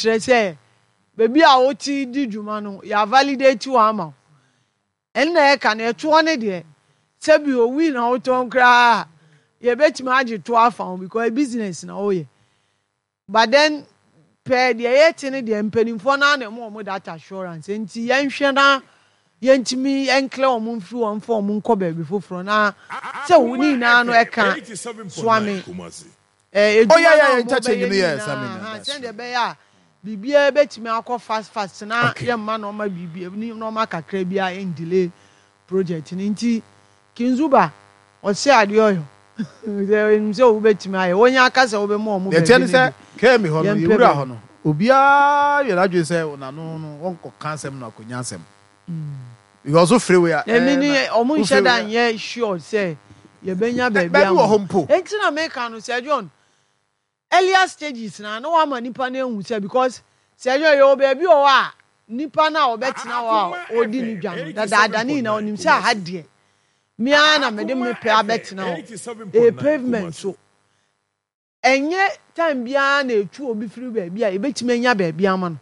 Kyerɛ sɛ baabi a wote di dwuma no yɛ avalidate wo ama wo. Ɛnna ɛka no ɛtoɔ no deɛ sɛbi owui na wotɔn koraa a yɛbɛtumi agye toɔ afa ho because business na woyɛ. But then pɛɛ deɛ yɛte no deɛ mpanimfoɔ no ara na ɛma wɔn that assurance nti yɛnhwɛ na yɛntumi ɛnklɛ wɔn mfiri wɔn mfa wɔn nkɔ baabi foforɔ na sɛ wo ne nyinaa no ɛka Suame eh, Oh edwuma yeah no yeah a yeah interchange wɔbɛyɛ no no yes I nyinaa mean ha that's sɛdeɛ true. ɛbɛyɛ a biribiara bɛtumi akɔ fast fast na Okay. yɛmma nneɛma biribi nneɛma kakra biara ɛndelay project no nti Kinzuba ɔse adeɛ ɔyɔ sɛ ɔnim sɛ wobɛtumi ayɛ wonya aka sɛ wobɛma ɔmo Deɛ ɛteɛ baabi ne no sɛ deɛ KME hɔ no yɛmpɛ yɛwura baabi. hɔ no obiara yɛ n'adwene sɛ n'ano no wɔnkɔka asɛm no akɔnya asɛm because wofiri wei a Emi ɛɛ ni na ɔmo nhyɛ wofiri da wei a nyɛ sure sɛ yɛbɛnya ɛ baabi baabi ama wɔ ɔmo hɔ mpo. enti na meka no Sir John earlier stages na na wama nipa no ehu sɛ because Sir John yɛwɔ baabi wɔ hɔ a nipa no a ɔbɛtena hɔ a ɔredi ne dwa no dadaada ne nyinaa ɔnim sɛ aha deɛ me ara na mede me pɛ abɛtena hɔ ɛyɛ pavement so Ɛnyɛ time biara na yɛtu obi firi baabi a yɛbɛtumi anya baabi ama no.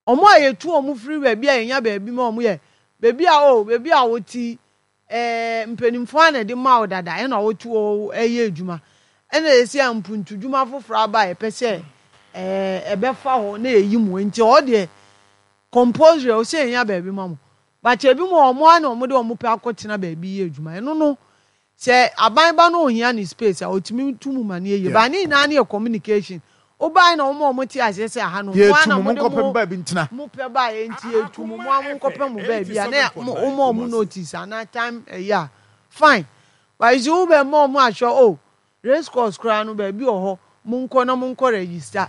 Wɔn a yɛtu wɔn firi baabi a yɛnya baabi ma wɔn yɛ baabi a oh baabi a wote yi eh, mpanimfoɔ a na ɛde ma wo dada ɛna wote hɔ ɛyɛ adwuma. Ɛna yɛsi a mpuntudwuma foforɔ aba a yɛpɛ sɛ eh, ɛbɛfa hɔ na yɛyi mo nti hɔ deɛ compulsory ɛwɔ sɛ yɛnya baabi ma mo. But ebi mu wɔn ara na wɔde wɔn pɛ akɔtena baabi yɛ adwuma. Ɛno no Sɛ aban ba na ohia ne space a otumi tu mu ma no yɛ yie but ne nyinaa no yɛ communication. Wobae na wɔma wɔn te aseɛ sɛ aha no mo ara Yɛtu na mo, mode monkɔpɛ mo mo baabi ntena. mo pɛ baeɛ nti yɛtu mo, mo ara monkɔpɛ mo baabi a na woma wɔn notice anaa time ɛyi a fine but you see wobɛma wɔn ahwɛ oh race course koraa no baabi wɔ hɔ monkɔ na monkɔ register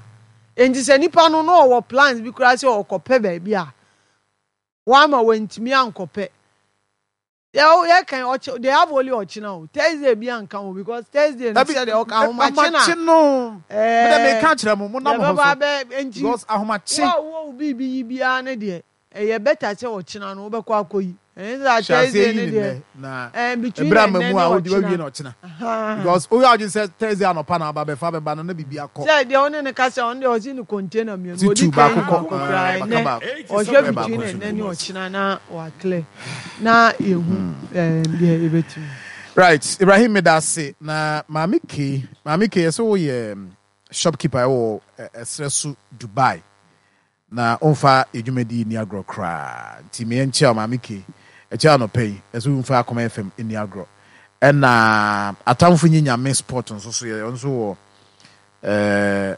nti sɛ nipa no na ɔwɔ plans bi koraa sɛ ɔkɔpɛ baabi a wama wantumi ankɔpɛ. Deɛ o yɛ kan ɔkye they have only ɔkyena o Thursday bi anka ho because Thursday no Dabi sɛ deɛ ɔka ahomakye na ahomakye no me dɛ ɛɛ meka kyerɛ mo mo nam deɛ ho bɛba so abɛ nti because wo ahomakye a wowɔ wo biribi yi biara no deɛ ɛyɛ better sɛ ɔkyena no wobɛkɔ akɔyi ɛnyɛ sɛ hyɛ aseɛ Thursday yi no ne deɛ nnɛ na ɛɛ between ɛberɛ ama ɛnnɛ mu ne a wode wawie ɔkyena na ɔkyena ahaa. because woyɛ adwene sɛ Thursday anɔpa na aba bɛfa bɛba no na biribi akɔ Sɛ deɛ wo ne no kasa ɔno deɛ ɔse ne container mmienu ti ɔdi tu kan baako yi kɔ baako koraa ɛɛ baka ɛnnɛ baako ɔhwɛ bɛyɛ baako between nso ɛnnɛ ne gu. ɔkyena na wa clear na yɛhu ɛɛm deɛ yɛbɛtumi. Right Ibrahim medase na maame K maame K yɛsɛ woyɛ shopkeeper ɛwɔ ɛserɛ so Dubai na womfa yɛ dwumadi nni agorɔ koraa nti me yɛnkyea wo maame K ɛkyɛ anɔpa yi ɛsɛ womfa Akoma FM nni agorɔ ɛna atamfo nyi nyame sport nso so yɛ nso wɔ ɛɛ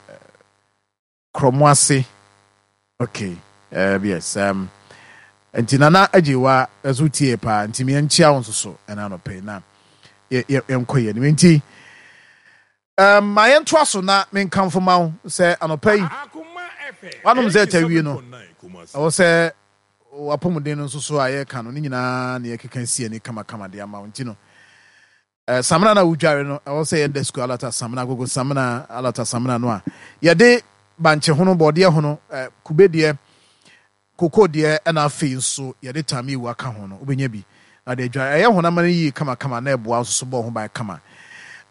Krɔmoase okay um, yes um, nti Nana Agyewa nso tie paa nti me nkyia wo nso so ɛna anɔpɛ yi na yɛnkɔ yɛn anim nti um, ma yɛntoa so na menkamfo ma wo sɛ anɔpa yi wanom sɛ ɛta no ɛwɔ sɛ wapɔmuden no nso so a yɛka no ne nyinaa na yɛkeka si ani kamakama de ama wo nti no Eh, samina no a wodware no, ɛwɔ sɛ yɛda sukuu alata samina, agogo samina, alata samina no a yɛde bankye hono, bɔɔdeɛ hono, eh, kube deɛ, koko deɛ, ɛna afei nso yɛde tamewu aka ho no, wobɛnya bi na de adware. Ɛyɛ honam no yie kamakama na ɛboa nso so bɔ ho ban kama.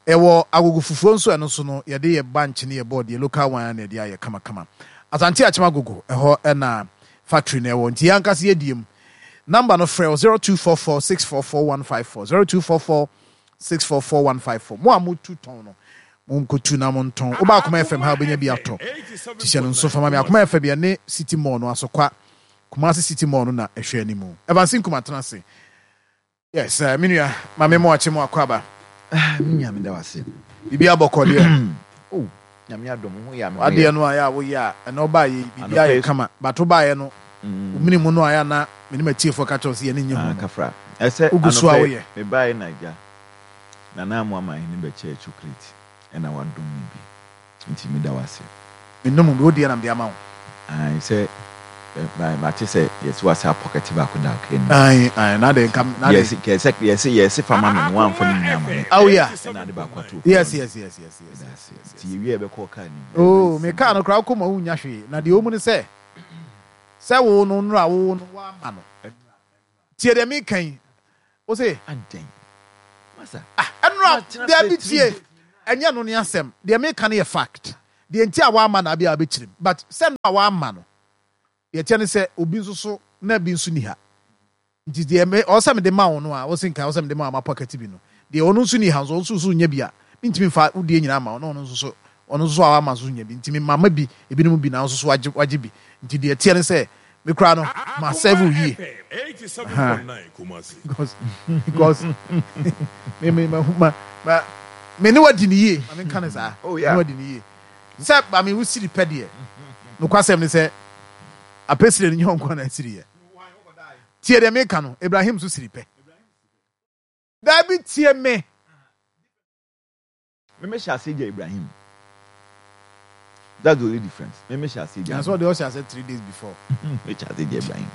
Ɛwɔ agogo fufuo nso, ɛno nso no, yɛde yɛ bankye ne yɛ bɔɔdeɛ, local one na yɛde ayɛ kamakama. Asante Akyem Agogo, ɛhɔ ɛna factory no ɛwɔ, nti yɛn ankasa yɛdie mu. Number no frɛ wɔ 0244 644 154, 0244 644 154. Mo a motu tɔn no, monkɔtu na montɔn. Woba Akoma FM ha a, wobɛnya bi atɔ. Nti hyɛ no nso fa ma me. Akoma FM yɛne City Mall no, Asokwa, Kumasi City Mall no na ɛhwɛ anim. Evans Nkum atena ase. Yes, eh, me nua, ma me mo akye mo akɔ aba. Ah, me nua, meda wo ase. Biribi abɔkɔ deɛ. Oh, nyame adom, wo ho yɛ a me ho yɛ. Wadeɛ no a yɛ a woyɛ a, ɛnɛ ɔbaa yɛ yi, biribi ayɛ kama. But wobaeɛ no, wo mene mu no a yɛ a na me ne m'atiefoɔ ka kyerɛ wo sɛ yɛne nye ho Ah, no. kafra. Ɛsɛ Wogu so a anɔpɛ woyɛ. mebaeɛ na agya, Nana Amoah Mahene bɛkyɛɛ chocolate ɛna wadom me bi. Nti meda wo ase. Me nom bi, wo deɛ na mede ama wo. Ae sɛ mate sɛ yɛse wasa pɔkɛte baako da ɔka anim. Ae ae na de nka na de. Yɛse kɛsɛ yɛse yɛse fa ma me no wamfa ne nyinaa ama me. Oh yeah. Ɛna ade baako ato Yes yes yes yes yes yes yes. Nti yɛwie a yɛbɛkɔ ɔkaa nim. Oh me kaa no koraa wokɔ mu a wonnya hwee na deɛ ɛwɔ mu ne sɛ sɛ wo no nnora wo no woama no. Tie deɛ meka yi. Wo se. Adɛn? Masa. Ah, ɛnora, Matena dabi fɛ tie. tiri. Ɛnyɛ no ne asɛm. Deɛ meka no yɛ fact. Deɛ nti a wamma no abia wabɛkyerɛ mu but sɛ no a wamma no deɛ ɛteɛ ne sɛ obi nso so na bi nso ni ha nti deɛ me ɔwɔ sɛ mede ma wo no a wose nka ɔwɔ sɛ mede ma wo mapɔkɛte bi no deɛ ɔno nso ni ha nso ɔno nso so nya bi a mentumi mfa wo deɛ nyinaa ma wo na ɔno nso so ɔno nso so a wama nso nya bi nti me mama bi ebinom bi na wo nso so wagye wagye bi nti deɛ ɛteɛ ne sɛ me koraa no ma serve wo yie Ahaa because because me me ma ma ma me ne wadi ne yie ma me nka ne saa Oh me ne yeah. wadi ne yie sɛ ma me wo siri pɛ deɛ nokwasɛm ne sɛ apɛsire no nyɛ ɔnko na asiri yɛ tie deɛ meka no Ibrahim so siri pɛ daabi tie me. Me me hyɛ aseɛ gya Ibrahim. That's the only difference. Me me hyɛ aseɛ gya. Nanso ɔde ɔhyɛ aseɛ 3 days before. Me hyɛ aseɛ gya Ibrahim.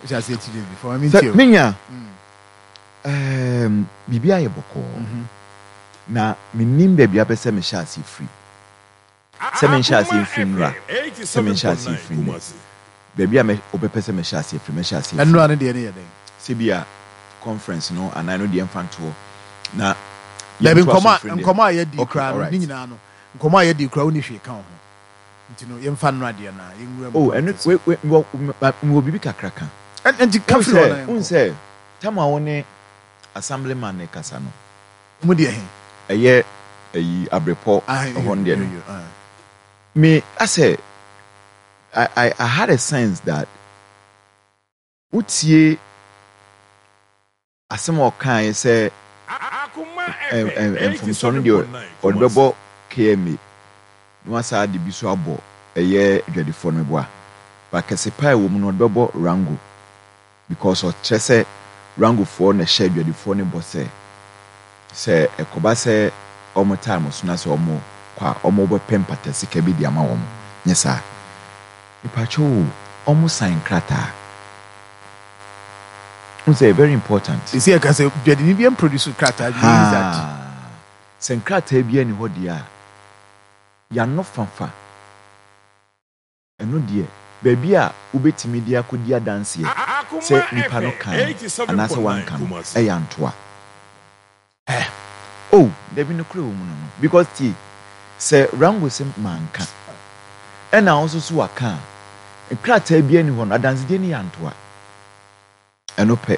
Ɔhyɛ aseɛ 3 days before. Ɛmi Sɛ ntie o. menya um, biribi ayɛ bɔkɔɔ na menim baabi apɛ sɛ mehyɛ aseɛ firi. Sɛ menhyɛ aseɛ mfiri nnora, sɛ menhyɛ aseɛ mfiri nnɛ. Baabi a wobɛpɛ sɛ mehyɛ aseɛ firi, mɛhyɛ aseɛ firi. Nnora no deɛ no yɛ dɛn? Sɛ bi a conference no anaa ɛno deɛ mfa ntoɔ na Dabi, yɛntoa so nkɔmmɔ a mfiri nnɛ. nkɔmmɔ a yɛadi Okay, koraa no, ne alright. nyinaa no, nkɔmmɔ a yɛadi koraa wonni hwee ka wo ho. Nti no, yɛmfa nnora deɛ no a, yɛnwura mu Oh, ɛno, politics no. wei, wei, mewɔ, mewɔ biribi kakra ka. Ɛn, ɛnti ka Wohu firi hɔ na sɛ, wohu yɛnkɔ. sɛ, tam a wo ne assemblyman no rekasa no, Mu deɛ he? Ɛyɛ ayi abrepɔ Ah, ɛhɔ yo, no deɛ yo, no. yo, ah. Me asɛ I, I, I had a sense that wotie asɛm a ɔkaeɛ sɛ mfomsoɔ no deɛ ɔde bɛbɔ KMA na wasan de bi so abɔ ɛyɛ adwadifoɔ no meboa but kɛse paa ɛwɔ mu no ɔde bɛbɔ Rango because ɔkyerɛ sɛ Rangofoɔ na ɛhyɛ adwadifoɔ no bɔ sɛ sɛ ɛkɔba sɛ wɔn time so na sɛ wɔn kɔ a wɔn bɛpɛ mpata sika bi de ama wɔn nyɛ saa mepakyɛw o wɔn sign krataa n sɛ very important. Sisi ɛka sɛ dwadini bi mproduce krataa bi means that. Haa sɛ nkrataa bi ani hɔ deɛ a yano fafa. Ɛno deɛ, baabi a wobɛtumi de akɔdi adanseɛ sɛ nipa no kae anaasɛ wanka no, ɛyɛ antoa. Eh. Oh, dabi nokorɛ wɔ mu no no. Because tie, sɛ Rango se manka, ɛna wo nso so waka a, nkrataa biara nni hɔ no, adansedie no yɛ antoa. Ɛno pɛ.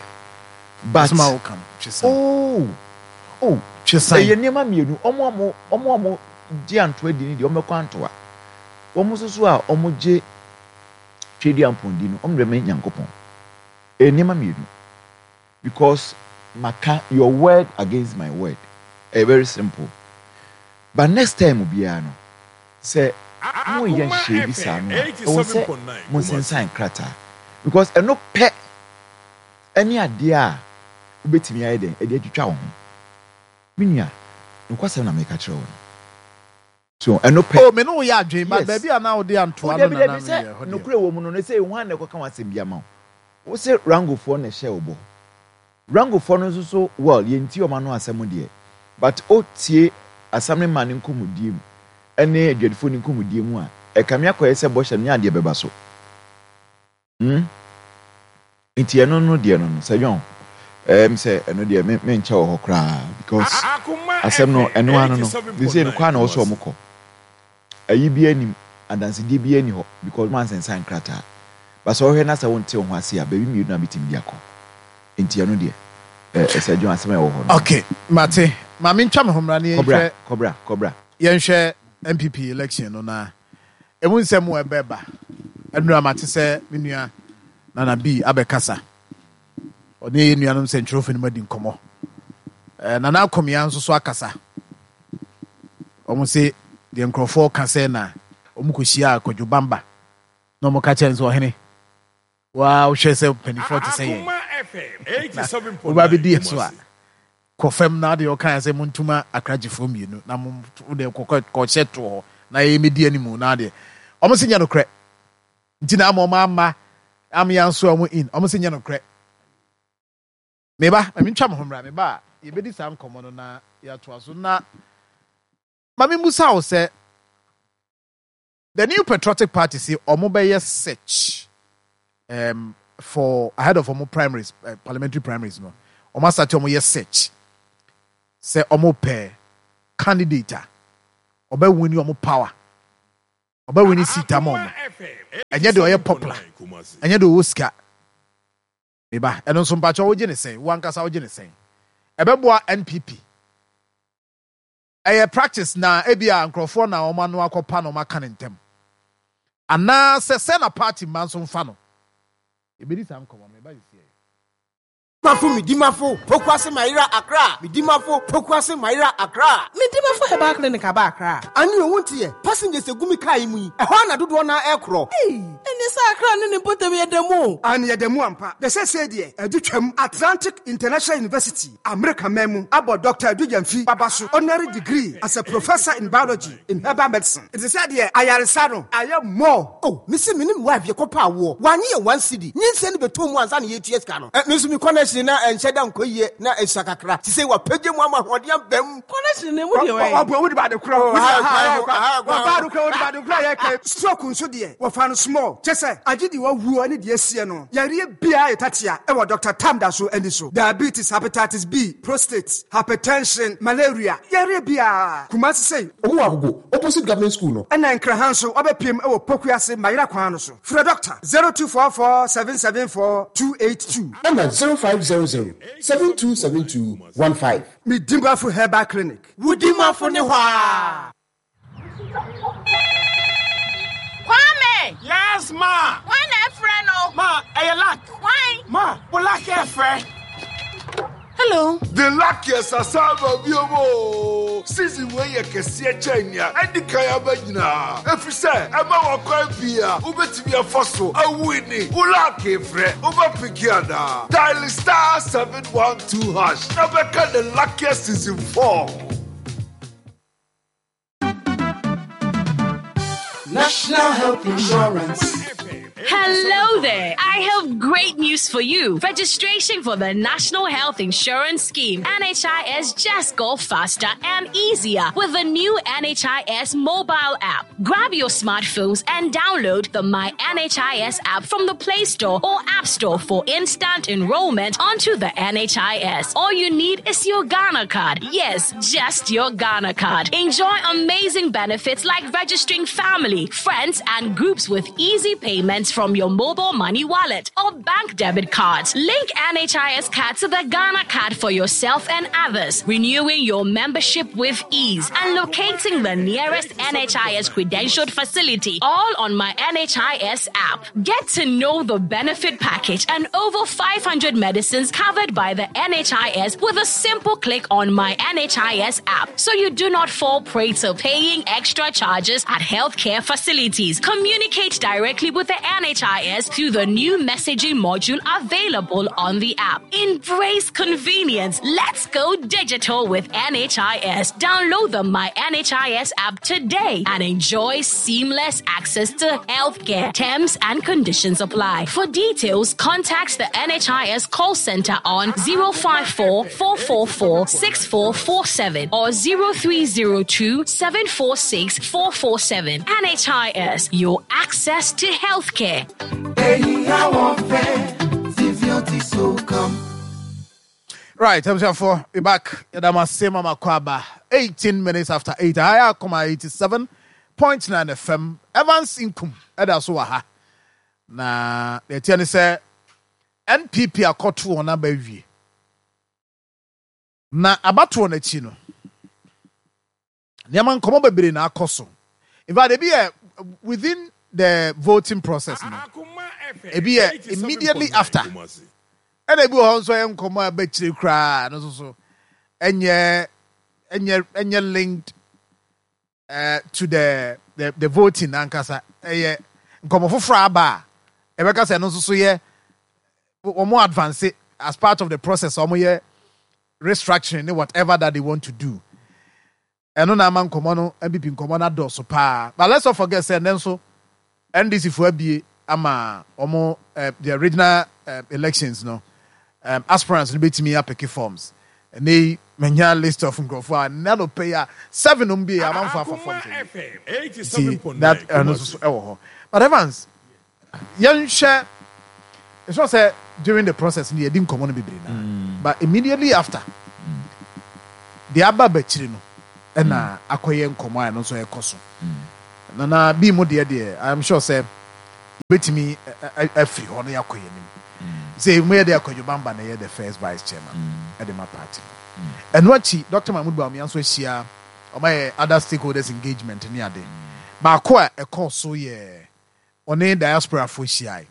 But Asɛm a woka no, twe san. Oh! Oh! Twe san. Ɛyɛ nneɛma mmienu. Wɔn a wɔn, wɔn a wɔgye antoa di no deɛ, wɔbɛkɔ antoa. Wɔn nso so a wɔgye Tweaduampɔn di no, wɔn de bɛma Nyankopɔn. Ɛyɛ nneɛma mmienu. Because maka your word against my word. Ɛyɛ very simple. But next time biara no, sɛ moreyɛ nhyehyɛe bi saa no a, ɛwɔ sɛ monsensan krataa. Because ɛno pɛ ne adeɛ a wobɛtumi ayɛ dɛn de atwitwa wo ho. Me nua, nokwasɛm na meka kyerɛ wo no. So ɛno pɛ. Oh, me ne wo yɛ adwene, but Yes. baabi a na wode Oh, antoa no dabi, na dabi, na sɛ meyɛ hɔ deɛ. nokorɛ wɔ mu no, no sɛ hwan na ɛkɔka w'asɛm bi ama wo? Wo se Rangofoɔ na ɛhyɛɛ wo bɔ. Rangofoɔ no nso so well yɛntie wɔn ano asɛm deɛ but wo tie Assemblyman no nkɔmmɔdie mu ɛne adwadifoɔ no nkɔmmɔdie mu a ɛkame akɔyɛ sɛ bɔhyɛ no nyɛ adeɛ bɛba so. Hmm? Nti ɛno no deɛ no no sɛ John ɛɛm sɛ ɛno deɛ me menkyɛ wɔ hɔ koraa because asɛm no ɛno ano no they say no kɔ a na ɔsɛ ɔmo kɔ. Ayi biara nnim, adansedie biara nni hɔ because moansensan nkrataa. But sɛ wohwɛ na sɛ wonte wo ho ase a, baabi mmienu na bɛtumi de akɔ. Nti ɛno deɛ, eh, Sir John, asɛm a ɛwɔ hɔ no. Ok, mate. Ma mentwa me ho mmra na Kɔbra, yɛnhwɛ. kɔbra, kɔbra. Yɛnhwɛ NPP election no na ɛmu nsɛm a ɛbɛba. Ɛnora mate sɛ me nua Nana B abɛkasa. Ɔne yɛn nuanom sɛnkyerɛwfo no mu adi nkɔmmɔ. Eh, Nana Akomea nso so akasa. Wɔn se deɛ nkurɔfoɔ ka sɛ na wɔn kɔhyia Kwadwo Bamba na wɔn ka kyerɛ no sɛ ɔhene waa wohwɛ sɛ mpanimfoɔ te sɛ yɛn na woba bɛdi yɛn so a kɔ fam na adeɛ ɔka sɛ montuma akragyefoɔ mmienu na mo deɛ kɔhyɛ toɔ hɔ na yɛyɛ mɛdi animu na adeɛ wɔn se nyɛ nokorɛ nti na ama wɔn amma amea nso a wɔn in wɔn se nyɛ nokorɛ meba ma mentwa me ho mmra meba a yɛbɛdi saa nkɔmmɔ no na yɛatoa so na ma memmusa wo sɛ the New Patriotic Party se wɔn bɛyɛ search um, for ahead of wɔn primaries parliamentary primaries no wɔn asate wɔn yɛ search sɛ wɔn pɛ candidate a ɔbɛ win wɔn power. Ɔbɛ winni seat ama ɔmo. Ɛnyɛ deɛ ɔyɛ popular, ɛnyɛ deɛ ɔwɔ sika. Me ba, ɛno nso mpakyɛw wogye ne sɛn? Wo ankasa wogye ne sɛn? Ɛbɛboa NPP? Ɛyɛ practice na ebia nkurɔfoɔ na wɔn ano akɔpa na wɔaka no ntɛm. Anaa sɛ sɛ na party mma nso mfa no. Yɛbɛdi saa nkɔmmɔ no, me ba sisiɛ. Mafo Medimafo Pokuase Mayera Accra Medimafo Pokuase Mayera Accra. Medimafo Herbal Clinic aba Accra. Ane o wonte yɛ passengers egu me car yi mu yi ɛhɔ ara na dodoɔ no ara ɛkorɔ. Ei ɛneɛ sɛ Accra ne ne mpɔtam yɛ da mu o. Aane yɛda mu ampa. Na seesei deɛ adu twam. Atlantic International University, Amerika man mu, abɔ Dɔkta Adu Gyamfi Baba so honorary degree as a Professor in Biology in Herbal Medicine. Nti sɛ deɛ ayaresa no ayɛ more. Oh me se me ne me wife yɛkɔ pɛ awoɔ wanye yɛn one cedi nyinsɛn no bɛtɔ mu ansa na yɛtua sika no eh me nso me connection na ɛnhyɛ da nkɔ yie na ɛsua kakra sisei wapagya mu ama ahoɔden aba mu. Connection no emu deɛ wɛn. Ɔboa wode bade korɔ Oh, aha kwan ho, aha kwan ho. Wɔbaa do korɔ wode bade korɔ a yɛka stroke nso deɛ wɔfa no small kyɛ sɛ agye deɛ wawuo ne deɛ asie no yareɛ biara yɛ tatea ɛwɔ Doctor Tam da so ani so diabetes hepatitis B prostate hypertension malaria yareɛ biara Kumasi sei Ɔmo wɔ Agogo, opposite government school no. Ɛna Nkraha nso wɔbɛpiem wɔ Pokuase Mayera kwan no so. Frɛ Dɔkta 0244 774 282. Ɛna 0500 7272 15. Medimafo Herbal Clinic. Wo dimafo ne hɔ aa. Kwame! Yes, ma. Hwan na ɛfrɛ no? Ma, ɛyɛ luck. Hwan? Ma, wo luck ɛfrɛ. Hello. The luckiest asan aba bio oo! Season wei yɛ kɛseɛ kyɛn nea adi kan aba nyinaa, efisɛ ɛma wo akwan pii a wobɛtumi afa so awini wo lucky frɛ. Wobɛpeke anaa? Dial *712# na bɛka The Luckiest Season 4. National Health Insurance. Hello there. I have great news for you. Registration for the National Health Insurance Scheme, NHIS, just got faster and easier with the new NHIS mobile app. Grab your smartphones and download the My NHIS app from the Play Store or App Store for instant enrollment onto the NHIS. All you need is your Ghana card. Yes, just your Ghana card. Enjoy amazing benefits like registering family, friends, and groups with easy payments from your mobile money wallet or bank debit cards. Link NHIS card to the Ghana card for yourself and others, renewing your membership with ease and locating the nearest NHIS credentialed facility, all on my NHIS app. Get to know the benefit package and over 500 medicines covered by the NHIS with a simple click on my NHIS app so you do not fall prey to paying extra charges at healthcare facilities. Communicate directly with the NHIS through the new messaging module available on the app. Embrace convenience. Let's go digital with NHIS. Download the My NHIS app today and enjoy seamless access to healthcare. Terms and conditions apply. For details, contact the NHIS call center on 054 444 6447 or 0302 746 447. NHIS, your access to healthcare. Right, abusuafoɔ, we back. Yɛda mo ase ma makɔ aba. 18 minutes after 8. Aha yɛ akoma 87.9 FM. Evans Nkum ɛda so wɔ ha. Na deɛ ɛteɛ ne sɛ NPP akɔto wɔn aba awie. Na abatoɔ no akyi no, nneɛma nkɔmɔ bebree na akɔ so. In fact, ebi yɛ within the voting process no, ebi yɛ immediately after. Ɛna ebi wɔ hɔ nso ɛyɛ nkɔmɔ a ɛbɛkyire koraa no nso so ɛnyɛ ɛnyɛ ɛnyɛ linked uh, to the the, the voting ankasa. Ɛyɛ nkɔmɔ foforɔ aba a ɛbɛka sɛ ɛno nso so yɛ wɔn advance as part of the process wɔn yɛ restructuring ne whatever that they want to do. Ɛno na ama nkɔmmɔ no, NPP nkɔmmɔ no adɔɔso paa. But let's not forget sɛ ɛnnɛ nso NDC foɔ abue ama wɔn eh, their regional eh, elections no um, aspirants no bɛtumi apeke forms. Ɛnnɛ yi manya list of nkurɔfoɔ a nnɛ anɔpa yi a seven nom bi amanfoɔ afa forms awie. Nti that ɛno nso so ɛwɔ hɔ. But Evans, yɛnhwɛ it's not sɛ during the process no yɛdi nkɔmmɔ no bebree na mm. but immediately after deɛ aba bakyiri no ɛna mm. akɔyɛ nkɔmmɔ a ɛno nso ɛkɔ so mm. Nana bi mu deɛ deɛ I am sure sɛ yɛbɛtumi afiri hɔ na yɛakɔ yɛn anim. Sɛ mu yɛ deɛ Kwadwo Bamba na ɛyɛ the first vice chairman ɛde ma party no. Ɛno akyi Doctor Mahmood Bawumia nso ahyia wɔn ayɛ other stakeholders engagement ne ade. Baako a ɛkɔɔ so yɛ ɔne diasporafoɔ hyiae.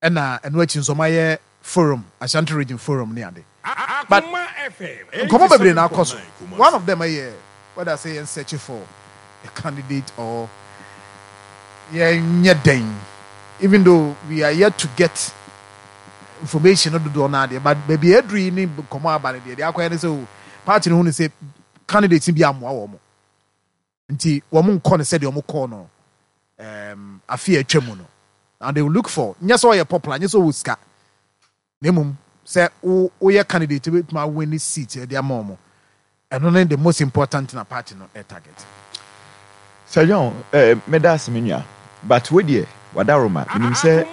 Ɛna ɛno akyi nso wɔayɛ forum, Ashanti region forum ne ade. But nkɔmmɔ bebree na akɔ so. One of them yɛ whether sɛ yɛn search for a candidate or yɛnyɛ dɛn even though we are yet to get information no dodoɔ no adeɛ but baabi a aduru yi ne nkɔmmɔ aba no deɛ deɛ akɔyɛ ne sɛ o party no hu ne sɛ candidates bi ammoa wɔn. Nti wɔn nkɔ no sɛdeɛ wɔn kɔɔ no um, afe a atwa mu no. Now they will look for, nyɛ sɛ ɔyɛ popular, nyɛ sɛ ɔwɔ sika, na mmom sɛ wo woyɛ candidate wobɛtumi awin ne seat de ama wɔn. Ɛno ne the most important na party no target. Sir John, eh, meda ase me nua, but wo deɛ wadaworoma, menim sɛ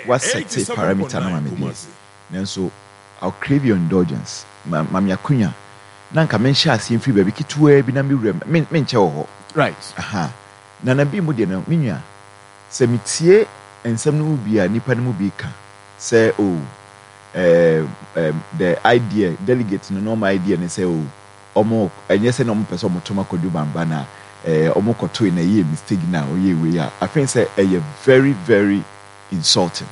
woasɛte parameter no ama me deɛ, Nanso I'll crave your indulgence, ma ma me akonya na nka menhyɛ aseɛ mfiri baabi ketewaa bi na me wura mu, me menkyɛ wɔ hɔ. Right. Aha. Nana bi mu deɛ no, me nua, sɛ metie nsɛm no mu bi a nnipa no mu bi ka sɛ oh, eh, eh, the idea, delegate no na wɔn idea ne sɛ oh, wɔn, ɛnyɛ sɛ na wɔn pɛ sɛ wɔn to ma Kwadwo Bamba na eh, wɔn kɔtoe na ɛyɛɛ mistake na wɔyɛɛ wei a, I think sɛ ɛyɛ very very insulting.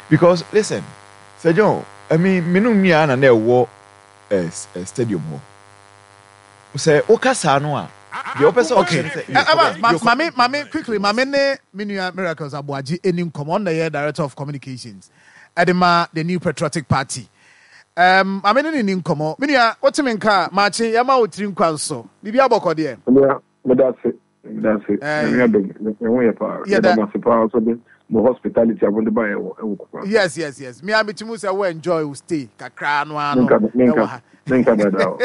Because listen, Sir John, I mean, me no nua na na ɛwɔ eh, eh, stadium hɔ. Sɛ woka saa no a, deɛ wopɛ sɛ ɔkyerɛ ne sɛ. Evans, ma, ma me, ma me quickly, ma me ne me nua Miracles Aboagye ɛni nkɔmmɔ. Ɔno na ɛyɛ Director of Communications ɛde ma the New Patriotic Party. Um, ma me ne ne ni nkɔmmɔ. Me nua, wote me nka a, maakye, yɛma wo tiri nkwa nso. Biribi abɔkɔ deɛ. Onua, meda ase. Meda ase. Nyame adom, me ho yɛ paa. Yɛda mo ase paa nso de mo hospitality a mode baeɛ wɔ ɛwɔ Kumasi. Yes, yes, yes. Me a metumi sɛ wo enjoy wo stay kakra no ara no ɛwɔ ha. Menka dada o.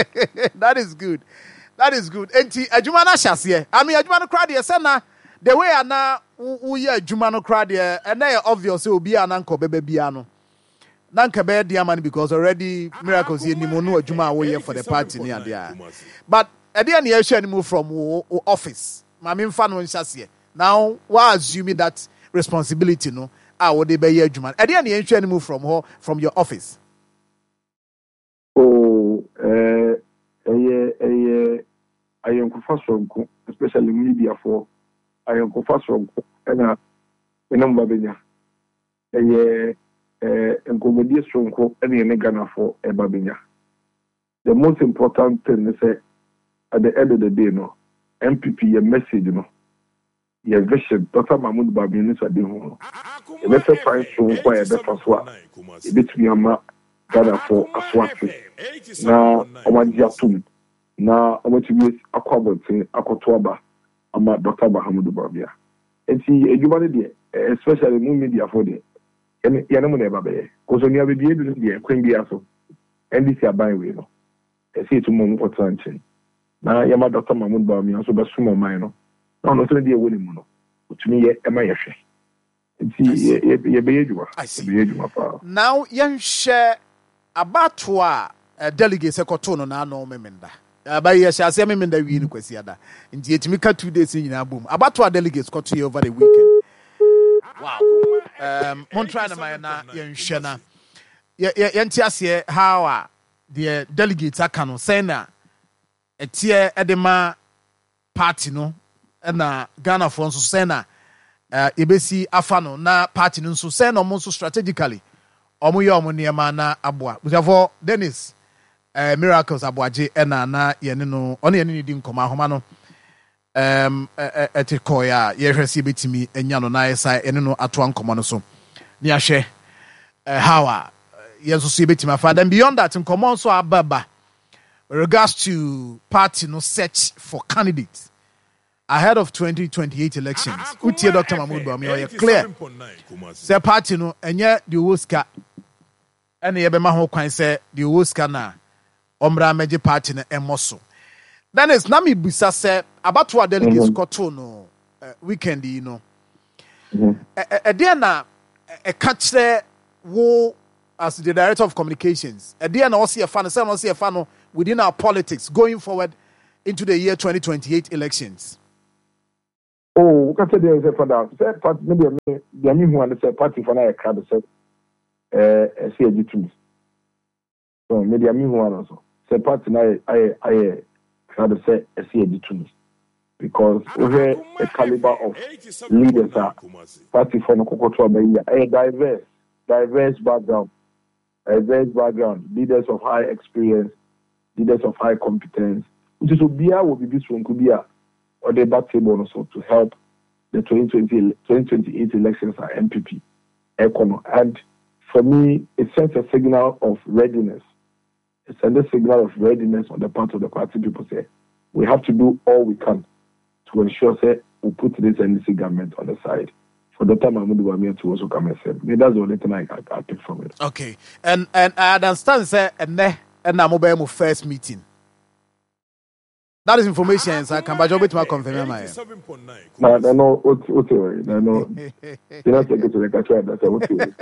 That is good. That is good. Enti adwuma no ahyɛ aseɛ. I mean adwuma no koraa deɛ sɛ na the way a na woyɛ adwuma no koraa deɛ ɛnɛ yɛ obvious sɛ obi a na nka ɔbɛba biara no na nka ɛbɛyɛ den ama no because already miracles yɛ nim no adwuma a woyɛ for the party ne adeɛ a but ɛdeɛ ne yɛhwɛ anim from wo office ma memfa no nhyɛ aseɛ now wa assume that responsibility no a wode bɛyɛ adwuma ɛdeɛ ne yɛnhwɛ anim from hɔ from your office. Oh eh ɛyɛ ɛyɛ ayɔnkofa soronko especially mediafoɔ ayɔnkofa soronko ɛna me ne mo ba bɛnya. Ɛyɛ eh nkɔmmɔdie soronko ɛna yɛne Ghanafoɔ ɛreba abɛnya. The most important thing ne sɛ at the end of the day no, NPP yɛ message no, yɛ vision, Doctor Mahmood Bawumia ne Sadihu no, yɛbɛpɛ kwan soronko a yɛbɛfa so a yɛbɛtumi ama Ghanafoɔ aso ate na wɔagye atom na wɔatumi akɔ abɔnten akɔto aba ama Doctor Mahamudu Bawumia. Nti adwuma no deɛ especially mo media foɔ deɛ yɛne yɛne mo na ɛba bɛyɛ. Cause onua baabi yɛadu no deɛ kwan biara so NDC aban wei no ɛsɛ yɛtu ma ɔmo kɔtena nkyɛn na yɛma Doctor Mahmood Bawumia nso bɛsom ɔman no na ɔno nso ne deɛ ɛwɔ ne mu no ɔtumi yɛ ɛma yɛhwɛ. Nti yɛbɛyɛ adwuma, yɛbɛyɛ adwuma paa. Now yɛnhwɛ abatoɔ a delegates kɔtoo no n'ano Memenda. Aba yi yɛhyɛ aseɛ Memenda wie no Kwasiada. Nti yɛtumi ka 2 days no nyinaa bom. Abatoɔ a delegates kɔtoeɛ over the weekend. Wow. Mon try na ma yɛn na yɛnhwɛ na yɛnte aseɛ how a deɛ delegates aka no sɛn na ɛteɛ de ma party no na Ghanafoɔ nso sɛn na yɛbɛsi afa no na party no nso sɛn na wɔn nso strategically wɔn yɛ wɔn nneɛma na aboa. Busuafoɔ Dennis eh, Miracles Aboagye ɛna na yɛne no ɔne yɛne ne di nkɔmɔ ahoma no ɛm ɛte kɔɛ a yɛhwɛ sɛ yɛbɛtumi anya no na yɛsa yɛne no atoa nkɔmɔ no so ne yɛahwɛ how a yɛn nso so yɛbɛtumi afa. Then beyond that nkɔmɔ nso aba ba With regards to party no search for candidate ahead of 2028 elections, wotie Dr. Mahmoud Bawumia ɔyɛ clear sɛ party no ɛnyɛ deɛ ɔwɔ sika ɛna yɛbɛma ho kwan sɛ deɛ ɔwɔ sika na ɔmmra mmɛgye party no ɛmmɔ so. Dennis, na mebisa sɛ abatoɔ a delegates kɔtoo no weekend yi no, ɛdeɛ na ɛka kyerɛ wo as the director of communications, ɛdeɛ na ɔsi ɛfa no sɛ na ɔsi ɛfa no within our politics going forward into the year 2028 elections. Oh, woka sɛ deɛ sɛ fada sɛ party me deɛ me deɛ me hu ane sɛ party fo no ayɛ krado sɛ ɛɛ ɛsɛ yɛgye tumi. So me deɛ me hu ano so sɛ party no ayɛ ayɛ ayɛ krado sɛ ɛsɛ yɛgye tumi because wohwɛ the caliber of leaders a party fo no kɔkɔto aba yi a ɛyɛ diverse diverse background diverse background leaders of high experience leaders of high competence nti so obiara wɔ biribi soronko bi a ɔde ba table no so to help the 2020 2028 elections a NPP ɛkɔ no and for me it sends a signal of readiness it sends a signal of readiness on the part of the party people sɛ we have to do all we can to ensure sɛ we put this NDC government on the side for Doctor Mahmoud Bawumia to also come and serve me that's the only thing I, I, I pick from it. Okay, and and I understand sɛ ɛnɛ ɛna mo bɛyɛ mo first meeting. That is information yɛn nsa ka mpakyɛ wobɛtumi akɔnfɛmi ama yɛn. Na na no wote wote wɔ na no gyina secretary ka kyerɛ ada sɛ wote wɔ.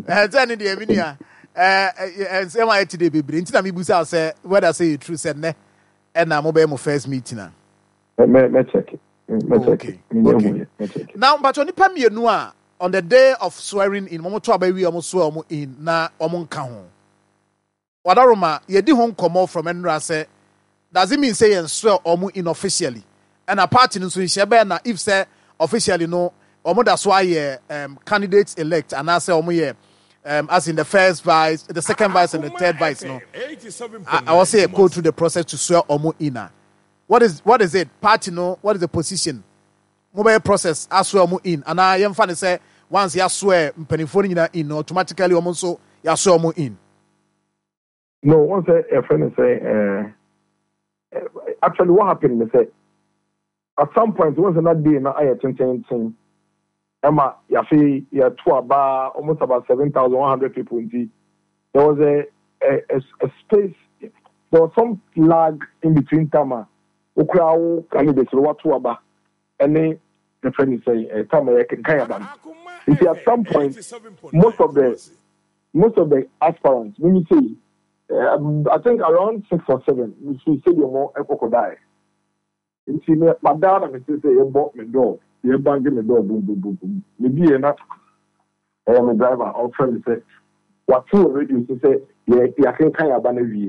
Ɛsɛ ne deɛ mi nua ɛɛ nsɛm a ɛte deɛ bebree nti na mi busa sɛ whether sɛ yɛ true sɛ nnɛ ɛna mo bɛyɛ mo first meeting a. Mɛ mɛ check mɛ check okay okay now mpakyɛ nipa mmienu a on the day of swearing in wɔn to aba wie wɔn swear wɔn in na wɔn nka ho. Wadaroma, yɛdi ho nkɔmmɔ from nnora sɛ does it mean sɛ yɛn swear wɔn in officially? Ɛna party no nso nhyɛ bɛn na if sɛ officially no wɔn da so ayɛ um, candidates elect anaasɛ wɔn yɛ um, as in the first vice, the second vice and the third vice no, I will say go through the process to swear wɔn in a. What is what is it? Party no, what is the position? Mobɛyɛ process aswear wɔn in anaa yɛmfa no sɛ once yɛaswear mpanimfoɔ no nyinaa in no automatically wɔn nso yɛaswear wɔn in? No, wɔn sɛ yɛfrɛ no sɛ eh, actually what happened ne sɛ at some point wɔn sɛ na day no ayɛ tententen ɛma yɛafe yɛto aba almost about 7,100 people nti there was a, a, a, a space there was some lag in between time a Wokura wo candidate no wato aba ne yɛfrɛ no sɛn eh, time a yɛkenkan aba no. Nti at some point most of the most of the aspirants mimi sei eh, I think around 6 or 7 mefiri stadium hɔ ɛkɔkɔdaeɛ. Nti me madaa na mete sɛ yɛbɔ me door yɛbange me door bum bum bum bum mebie na ɛyɛ me driver ɔfrɛ me sɛ wate wɔ radio so sɛ yɛakenkan aba no awie.